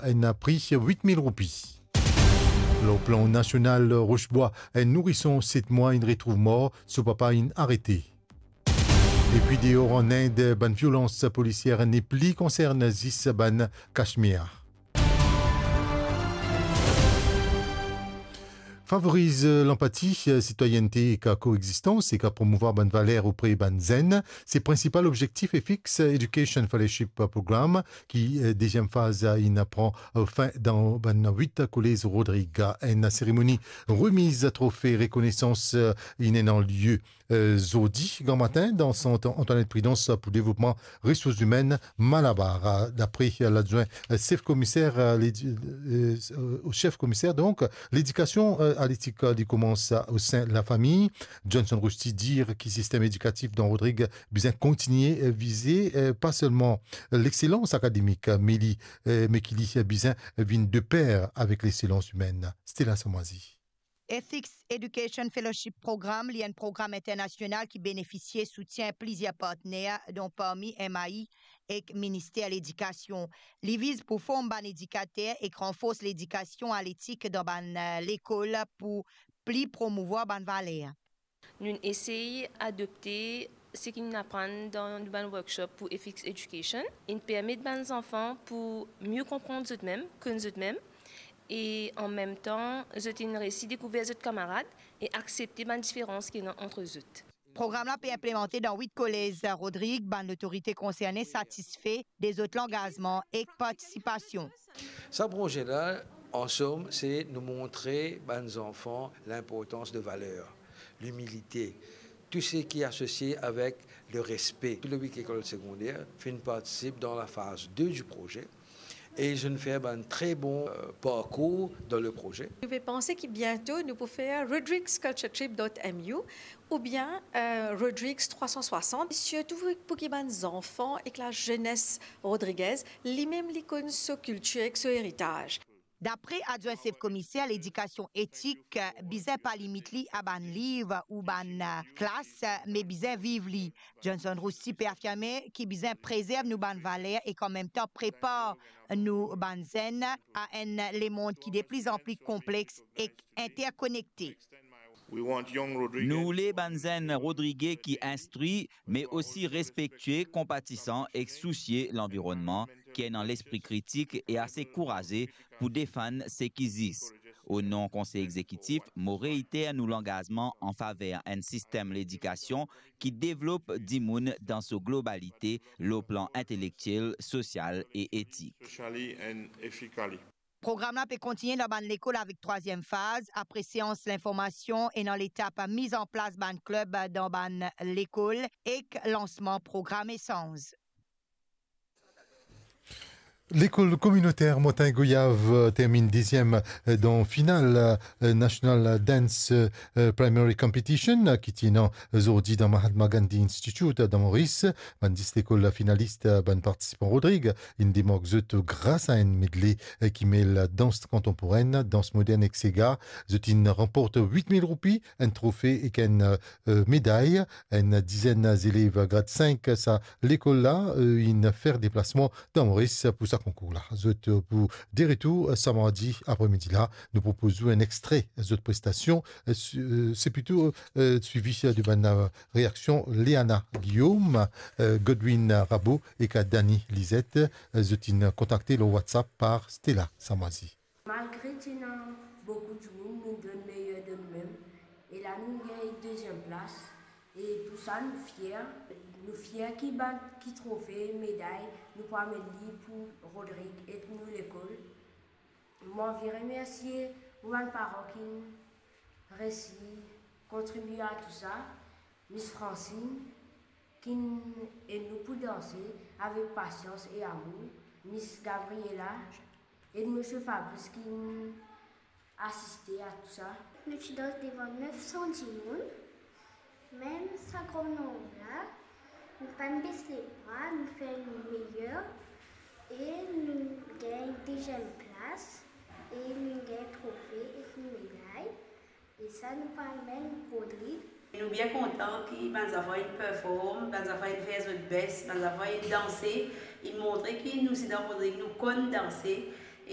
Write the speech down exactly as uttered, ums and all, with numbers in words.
enn pri wit mil roupi. Lor plan nasional, Rochebwa, enn nourison set mwa inn retrouv mor, so papa inn arete. Epi deor an Ind, bann violans polisier nepli konsern zis bann Kashmir. Favoriz, eh, lanpati, eh, sitwayennte ek koegzistans ek promouvwar bann valer opre bann zenn, se prinsipal obzektif Ethics Education Fellowship Program, ki, eh, deziem faz, eh, inn pran, eh, fin dan bann wit kolez Rodrig. Enn seremoni remiz trofe rekonesans, eh, inn ena lie, eh, zordi gramatin dan sant Antoinette Prudence pou devlopman resours imenn Malabar, eh, dapre, eh, ladwin, eh, sef komiser, eh, ledi-, eh, eh, sef komiser, donk, ledikasion, eh, atletik, eh, li koumans, eh, osin lafami. Johnson Rusty dir ki sistem edikatif dan Rodrig bizin kontigne, eh, vize, eh, pa selman, eh, lexselans akademik, eh, me li, eh, me ki li, eh, bizin vinn de per avek lexselans imenn. Stella Samwazi. Ethics Education Fellowship Program, li enn program internasional ki benefisie soutien plizier partner, don parmi M I A ek Minister Ledikasion. Li viz pou form bann edikater ek ranfors ledikasion atletik dan bann, eh, lekol pou pli promouvwar bann valer. Nou'nn esey adopte seki nou'nn aprann dan nou bann workshop pou Ethics Education. Inn permet bann zanfan pou mie konpran zot mem, konn zot mem, e an mem tan, zot inn resi dekouver zot kamarad e aksepte bann diferans ki ena ant zot. Program la pe inplemante dan wit kolez Rodrig, bann lotorite konserne satisfe de zot langazman ek partisipasion. Sa proze la, an som, se nou montre bann zanfan linportans de valer, limilite, tou seki asosie avek le respe. Tou le wit lekol segonder finn partisip dan la faz de di proze e zot inn fer bann tre bon, eh, parkour dan le proze. Nou pe panse ki biento nou pou fer Rodrigues Culture Trip dot M U oubien, eh, Rodrigues trwa san swasant, sirtou pou ki bann zanfan ek lazenes rodrigez, li mem li konn so kiltir ek so eritaz. Dapre adwin sef komiser, ledikasion etik, eh, bizin pa limit li a bann liv ou bann, eh, klas, eh, me bizin viv li. Johnson Rusty pe afirme ki bizin prezerv nou bann valer ek an mem tan prepar nou bann zenn a enn lemond ki de pli an pli konplex ek interkonekte. We want young Rodriguez. Nou oule bann zenn Rodrige ki instri, me osi respektie, konpatisan ek sousie lanvironnman, ki ena lespri kritik e ase kouraze pou defann seki zis. O non Konsey Egzekitif, mo reiter nou langazman an faver enn sistem ledikasion ki devlop dimoun dan so globalite, lor plan intelektiel, sosial e etik. Socially and ethically. Program la pe kontigne dan bann lekol avek trwaziem faz, apre seans linformasion, ena letap miz an plas bann klib dan bann lekol ek lansman program esanz. Lekol kominoter Montagne Goyave, eh, terminn deziem, eh, dan final, eh, National Dance, eh, Primary Competition, eh, ki ti ena zordi dan Mahatma Gandhi Institute, eh, dan Moris. Bann dis lekol finalis, eh, bann partisipan Rodrig, inn demark zot gras a enn medley, eh, ki mel dans kontanporenn, dans modern ek sega. Zot inn ranport wit mil roupi, enn trofe ek enn, eh, meday. Enn dizenn zelev grad sink sa lekol la, eh, inn fer deplasman dan Moris pou sa konkour la. Zot, eh, pou de retour, eh, sa mardi apremidi la. Nou propoz ou enn extre zot prestasion, eh, su-, eh, se plito, eh, swivi, eh, de bann, eh, reaksion Léana Guillaume, eh, Godwin Rabot ek Dani Lizette. Eh, zot inn kontakte lor WhatsApp par Stella Samwazi. Malgre ti ena boukou dimoun, nou donn meyer de noumem, e la nou gagn deziem plas, e pou sa nou fier. Nou fier ki bann, ki trofe, meday, nou pou amenn li pou Rodrig ek nou lekol. Mo anvi remersie mo bann paran ki resi kontribie a tou sa, Miss Francine, ki ed nou pou danse avek pasians e amour, Miss Gabriela, e Misie Fabrice ki asiste a tou sa. Nou ti dans devan nef san dimoun, mem sa gran nonb la, nou pa bes lebra, nou fer nou meyer e nou gagn deziem plas e nou gagn trofe ek nou meday. E sa nou pou amenn Rodrig. Nou bien kontan ki bann zanfan inn perform, bann zanfan inn fer zot best, bann zanfan inn danse, inn montre ki nou si dan Rodrig nou konn danse,